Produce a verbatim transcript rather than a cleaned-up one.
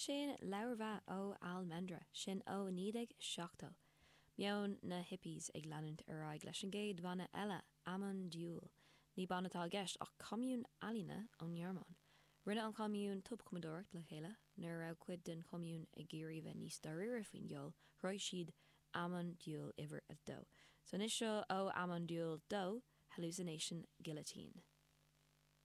Sin leabhar ó Almendra sin ó naoi déag seachtó. Meon na hippies ag leanúint ar aghaidh leis an gcéad bhanna eile Amon Düül. Ní banna atá i gceist ach commune ealaíne ón nGearmáin. Rinne an commune tobchumadóireacht le chéile nuair a raibh cuid den commune ag iarraidh bheith níos dáiríre faoin gceol, chruthaigh siad Amon Düül uimhir a dó. So anois seo ó Amon Düül dó Hallucination Guillotine.